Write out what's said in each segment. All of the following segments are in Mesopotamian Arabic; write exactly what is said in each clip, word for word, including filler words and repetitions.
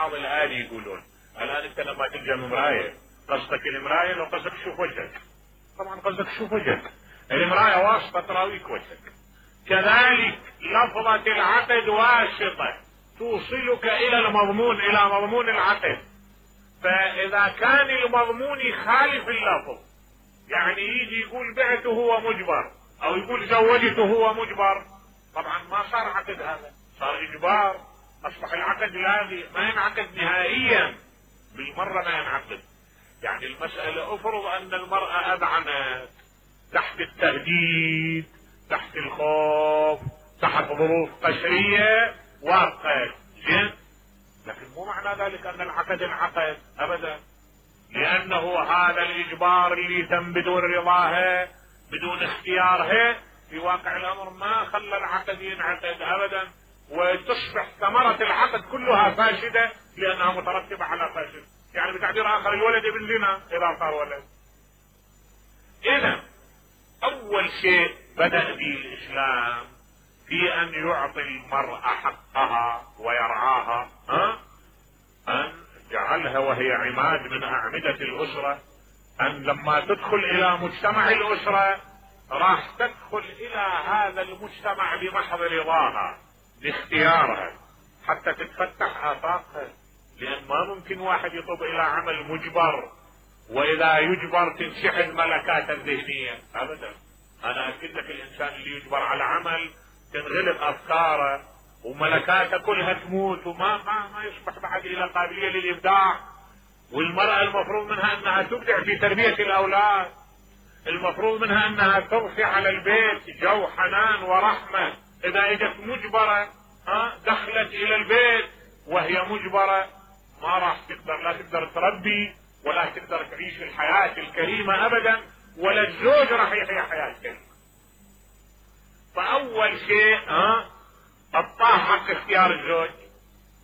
الحاض الآلي يقولون الآن أنت لما تلجأ مراية قصدك المراية لو قصدك شوف وجهك، طبعا قصدك شوف وجهك، المراية واسطة تراويك وجهك. كذلك لفظة العقد واسطة توصلك إلى المضمون، إلى مضمون العقد. فإذا كان المضمون يخالف اللفظ، يعني يجي يقول بعته هو مجبر أو يقول زوجته هو مجبر، طبعا ما صار عقد، هذا صار إجبار، أصبح العقد لاغي، ما ينعقد نهائيا بالمرة، ما ينعقد. يعني المسألة افرض أن المرأة أذعنت تحت التهديد، تحت الخوف، تحت ظروف قسرية وافقت، زين، لكن مو معنى ذلك أن العقد انعقد أبدا، لأنه هذا الإجبار اللي تم بدون رضاها بدون اختيارها في واقع الأمر ما خلى العقد ينعقد أبدا، وتصبح ثمرة العقد كلها فاسدة لأنها مترتبة على فاسد. يعني بتعبير آخر الولد ابن زنا إذا صار ولد. إذا أول شيء بدأ به الإسلام في أن يعطي المرأة حقها ويرعاها، ها؟ أن جعلها وهي عماد من أعمدة الأسرة، أن لما تدخل إلى مجتمع الأسرة راح تدخل إلى هذا المجتمع بمحض رضاها باختيارها حتى تتفتح آفاقها، لأن ما ممكن واحد يطب إلى عمل مجبر وإذا يجبر تنشحن ملكاته الذهنية أبدا. أنا أكد لك الإنسان اللي يجبر على عمل تنغلق أفكاره وملكاته كلها تموت وما ما ما يصبح بعد إلى قابلية للإبداع. والمرأة المفروض منها أنها تبدع في تربية الأولاد، المفروض منها أنها تضفي على البيت جو حنان ورحمة. إذا اجت مجبرة ها دخلت إلى البيت وهي مجبرة ما راح تقدر، لا تقدر تربي ولا تقدر تعيش الحياة الكريمة أبدا، ولا الزوج راح يحيا حياة كريمة. فأول شيء ها أعطاه حق اختيار الزوج،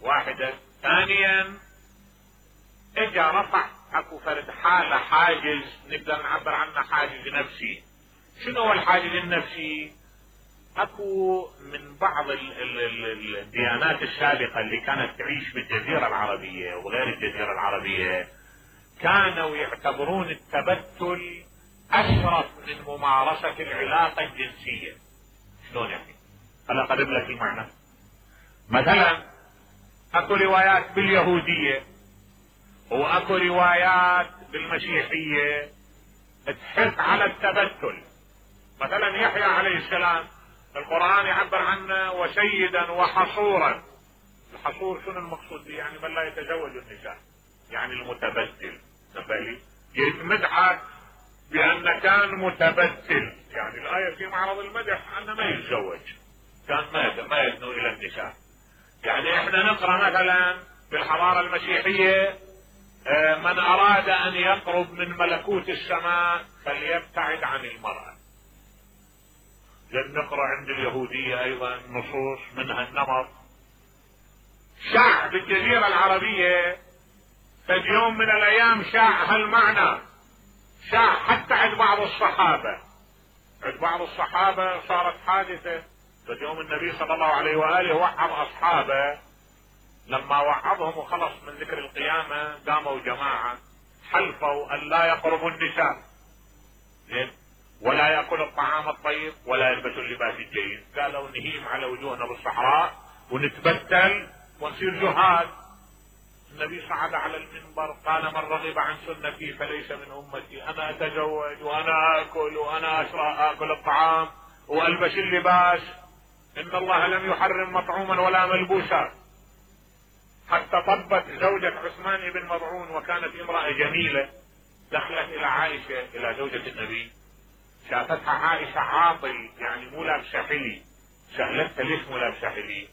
واحدة. ثانيا اجا رفع اكو فرد حالة حاجز نقدر نعبر عنه حاجز نفسي. شنو هو الحاجز النفسي؟ اكو من بعض ال ال ال الديانات السابقة اللي كانت تعيش بالجزيرة العربية وغير الجزيرة العربية كانوا يعتبرون التبتل اشرف من ممارسة العلاقة الجنسية. شلون يعني؟ هلا قرب لك المعنى. مثلا اكو روايات باليهودية واكو روايات بالمسيحية تحث على التبتل. مثلا يحيى عليه السلام القرآن يعبر عنه وسيدا وحصورا. الحصور شنو المقصود به؟ يعني من لا يتزوج النساء، يعني المتبتل. نبالي يتمدح بأن كان متبتل، يعني الآية في معرض المدح أنه ما يتزوج، كان ما ما يدنو إلى النساء. يعني احنا نقرأ مثلا بالحضارة المسيحية من أراد أن يقرب من ملكوت السماء فليبتعد عن المرأة. لن نقرأ عند اليهودية أيضا نصوص منها النمط. شاع بالجزيرة العربية فد يوم من الأيام شاع هالمعنى، شاع حتى عند بعض الصحابة. عند بعض الصحابة صارت حادثة فد يوم النبي صلى الله عليه وآله وعظ أصحابه، لما وعظهم وخلص من ذكر القيامة قاموا جماعة حلفوا أن لا يقربوا النساء ولا يأكل الطعام الطيب ولا يلبسوا اللباس الجيد. قالوا نهيم على وجوهنا بالصحراء ونتبتل ونصير جهاد. النبي صعد على المنبر قال من رغب عن سنتي فليس من أمتي. أنا أتزوج وأنا أكل وأنا أشرب أكل الطعام وألبس اللباس، إن الله لم يحرم مطعوما ولا ملبوسا. حتى طبت زوجة عثمان بن مضعون وكانت امرأة جميلة، دخلت إلى عائشة إلى زوجة النبي، شافتها عائشة عاطل يعني مو لابسة حلي، سألتها ليش مو لابسة حلي؟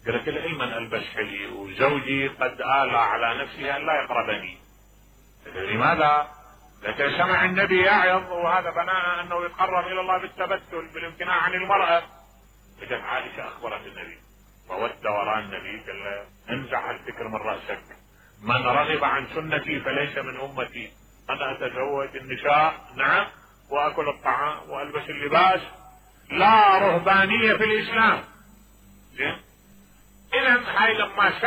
قالت لها علما البس حلي وزوجي قد آلى على نفسه ان لا يقربني. لماذا؟ قالت سمع النبي يعظ وهذا بناء انه يتقرب الى الله بالتبتل بالامتناع عن المرأة. اجت عائشة اخبرت النبي فود وراء النبي قال له انزع الفكر من رأسك، من رغب عن سنتي فليس من امتي. انا اتزوج النساء نعم واكل الطعام والبس اللباس، لا رهبانية في الاسلام. زين؟ اذا هاي لما